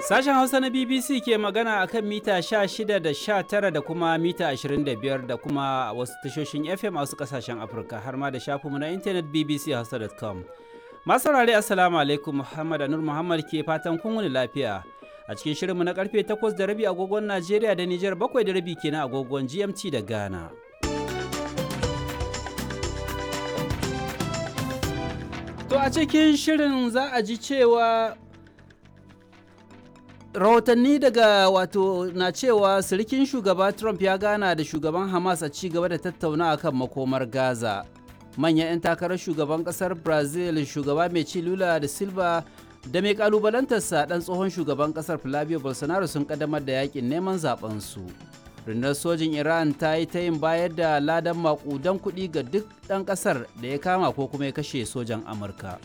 Sashen Hausa na BBC ke magana a kan mita 16 da 19 da kuma mita 25 da kuma wasu tashoshin FM a wasu kasashen Afirka har ma da shafinmu na intanet bbchausa.com. Masu saurare, Assalamu alaikum, Muhammad Anur Muhammad ke fatan kun wuni lafiya. A cikin shirinmu na karfe 8:30 agogon Najeriya da Nijar, 7:30 kenan agogon GMT da Ghana. To, a cikin shirin za a ji cewa rahotanni daga wato na cewa sirikin shugaba Trump ya gana da shugaban Hamas a ci gaba da tattauna akan makomar Gaza. Manyan 'yan takarar shugaban kasar Brazil, shugaba mai ci Lula da Silva da mai kalubalantarsa dan tsohon shugaban kasar Flavio Bolsonaro, sun kaddamar da yakin neman zaben su. Rundunar sojin Iran ta yi ta yin bayar da ladan makudan kuɗi ga duk ɗan ƙasar da ya kama ko kuma ya kashe sojan Amurka.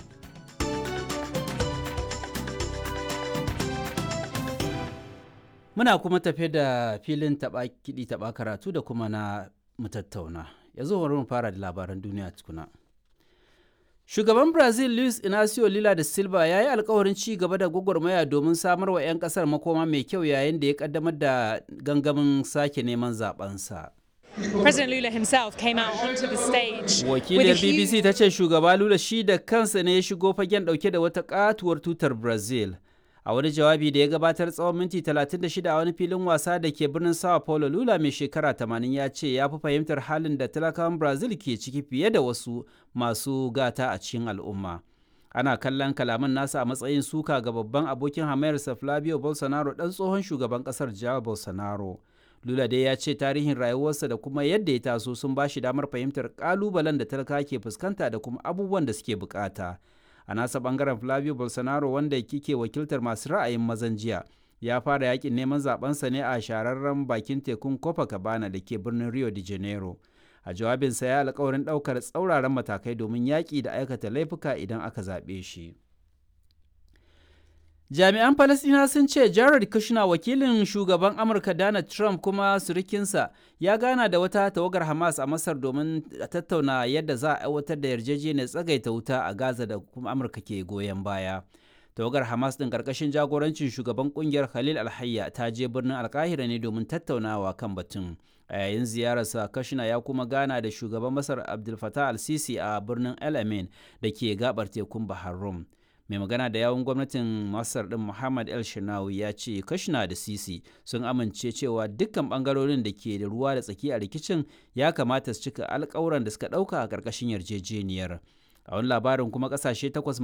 Muna kuma tafe da filin taɓa kiɗi taɓa karatu da kuma na mutattauna. Yanzu bari mu fara da labaran duniya tukuna. Shugaban Brazil Luis Inacio Lula da Silva ya yi alkawarin ci gaba da gwagwarmaya domin samar wa 'yan kasar makoma mai kyau yayin da ya kaddamar da gangamin sake neman zabensa. President Lula himself came out onto the stage. Wakiliyar BBC ta ce shugaba Lula shi da kansa ne ya shigo fagen dauke da wata katuwar tutar Brazil. A wani jawabi da ya gabatar tsawon minti 36 a wani filin wasa da ke birnin Sao Paulo, Lula mai shekara 80 ya ce ya fi fahimtar halin da talakawan Brazil ke ciki fiye da wasu masu gata a cikin al'umma. Ana kallon kalaman nasa a matsayin suka ga babban abokin hamayarsa Flavio Bolsonaro, dan tsohon shugaban kasar Jair Bolsonaro. Lula dai ya ce tarihin rayuwarsa da kuma yadda ya taso sun ba shi damar fahimtar kalubalen da talaka ke fuskanta da kuma abubuwan da suke bukata. A nasa bangaren, Flavio Bolsonaro, wanda kike wakiltar masu ra'ayin mazan jiya, ya fara yakin neman zabensa ne a shahararren bakin tekun Copacabana da ke birnin Rio de Janeiro. A jawabinsa ya alkawarin daukar tsauraran matakai domin yaƙi da aikata laifuka idan aka zaɓe shi. Jami'an Falasɗina sun ce Jared Kushner, wakilin shugaban Amurka Donald Trump kuma surukinsa, ya gana da wata tawagar Hamas a Masar domin tattauna yadda za a aiwatar da yarjejeniyar tsagaita wuta a Gaza da kuma Amurka ke goyon baya. Tawagar Hamas din karkashin jagorancin shugaban kungiyar Khalil Alhayya ta je birnin Alkahira ne domin tattaunawa kan batun. A yayin ziyararsa, Kushner ya kuma gana da shugaban Masar Abdul Fattah al-Sisi a birnin El Amin da ke gabar tekun Bahar Rum. Mai magana da yawun gwamnatin Masar din, Muhammad El Shinawi, ya ce Kashna da Sisi sun amince cewa dukkan bangarorin da ke da ruwa da tsaki a rikicin ya kamata su cika alkawuran da suka dauka a karkashin yarjejeniyar. A wani labarin kuma, kasashe takwas